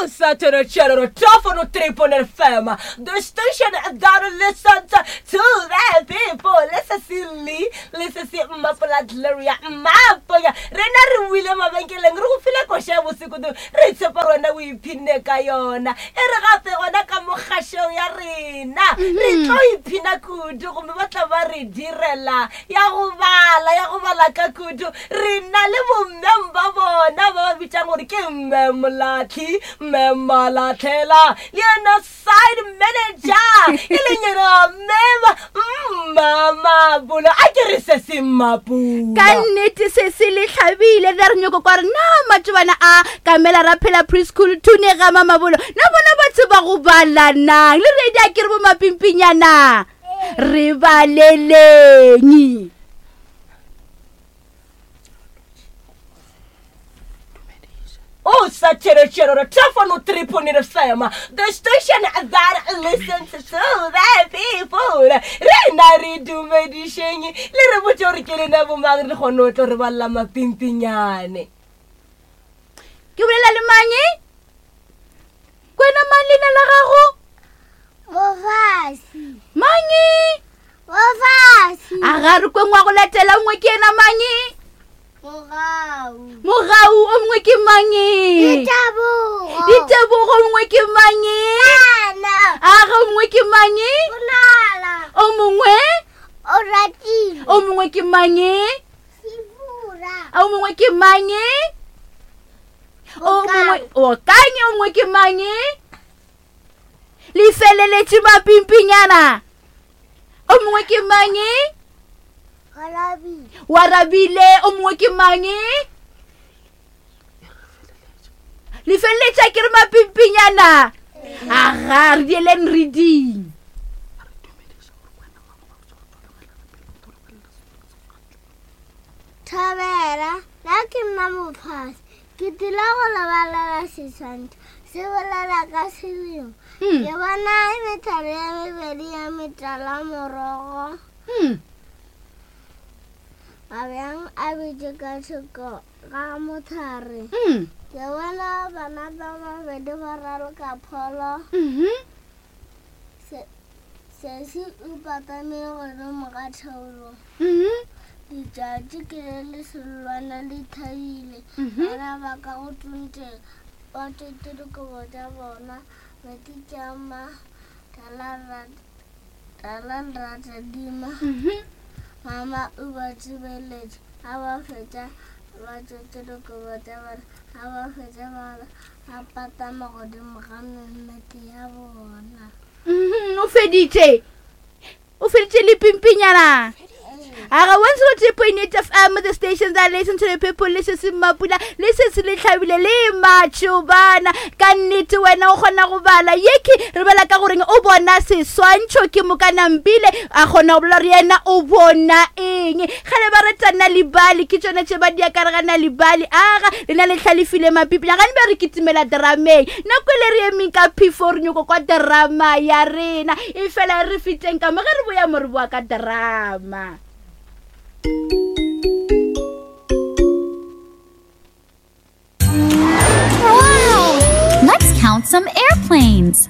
O sa tšhelelo tofono 3.5 FM, the station that listens to the people. Le se se le, le se se Mmapola Gloria Mmaponya. Rena re wile mabenkeleng, re go file koša ya bose kudu, re tshepa gore wena o iphinne ka yona. E re gape gona ka mo kgašong ya rena, re tlo iphina kudu gomme ba tla ba re direla ya go bala, ya go bala ka kudu. Re na le bommeng ba bona ba ba bitšang gore ke Mme Molatlhi, Mme Malatlhela le yena side manager e leng yena Mme Mmamabolo. A ke re se se Mmapula. Ka nnete se se le hlabile re re nyoko kwa re na matšobana a kamela ra phela preschool thune ga Mamabolo na bona ba tseba go bala nang le redi a ke re bo mapimpinyana re baleleng. O sa tšhelotšhelelo telefono 3.8 FM, the station that listens to the people. Re na re dumedišeng le re botse gore ke lena bomang re kgone o tlo re balela mapimpinyane. Ke bolela le mang? Kwena mang leina la gago? Mofasi. Mang? Mofasi. A ga re kweng wa go latela nngwe ke yena mang? Mogau. Mogau o mongwe ke mang? Ditebogo. Ditebogo o mongwe ke mang? Ana. A ga o mongwe ke mang? Bonala. O mongwe? O ratile. O mongwe ke mang? Sibura. A o mongwe ke mang? O mongwe o kanye o mongwe ke mang? Le feleletše mapimpinyana. O mongwe ke mang? Warabile. O mongwe ke mang? Le feleletša ke re mapimpinyana. Aga re dieleng reading. Thobela, nna ke nna Mophasi. Ke tlile go le balela seswantšho se bolela ka selemo. Hmm. Ke bona methalo ya mebedi ya metala morogo. Hmm. Mabjang a bitše ka thoko ga mothare. Hmm. Ke bona bana ba babedi ba raloka pholo. Mm -hmm. Se, sesi o patamile godimo ga theolo. Mhm. Letšatši ke le le sellwana le thabile. Mhm. Bana ba ka go tunte ba tšwetše dikobo tša bona. Metsi tšama tala ratadima. Mhm. Mama o ba tsebeletše a ba fetša ba tšwetše dikobo tša bona. A ba fetša ba a patama godimo ga memmete ya bona. Mhm, o feditše o feditše le pimpinyana aga 103.8 fm the station that listen to the people le se se mapula le se se le tlhabile le matšobana ka nnete wena o kgona go bala yeke re bala ka goreng o bona seswantšho ke mokanampile a kgona go bolela gore yena o bona eng Kgale ba reta Nal'ibali, ke tšona tše ba di akaregana Nal'ibali. Aga, lena le hlalefile mapipi. Gane be re kitimela drameng. Nako e le re emeng ka phefo re nyoko kwa drama ya rena. E fela e re feteng ka mo ge re boya mo re boa ka drama. Wow! Let's count some airplanes.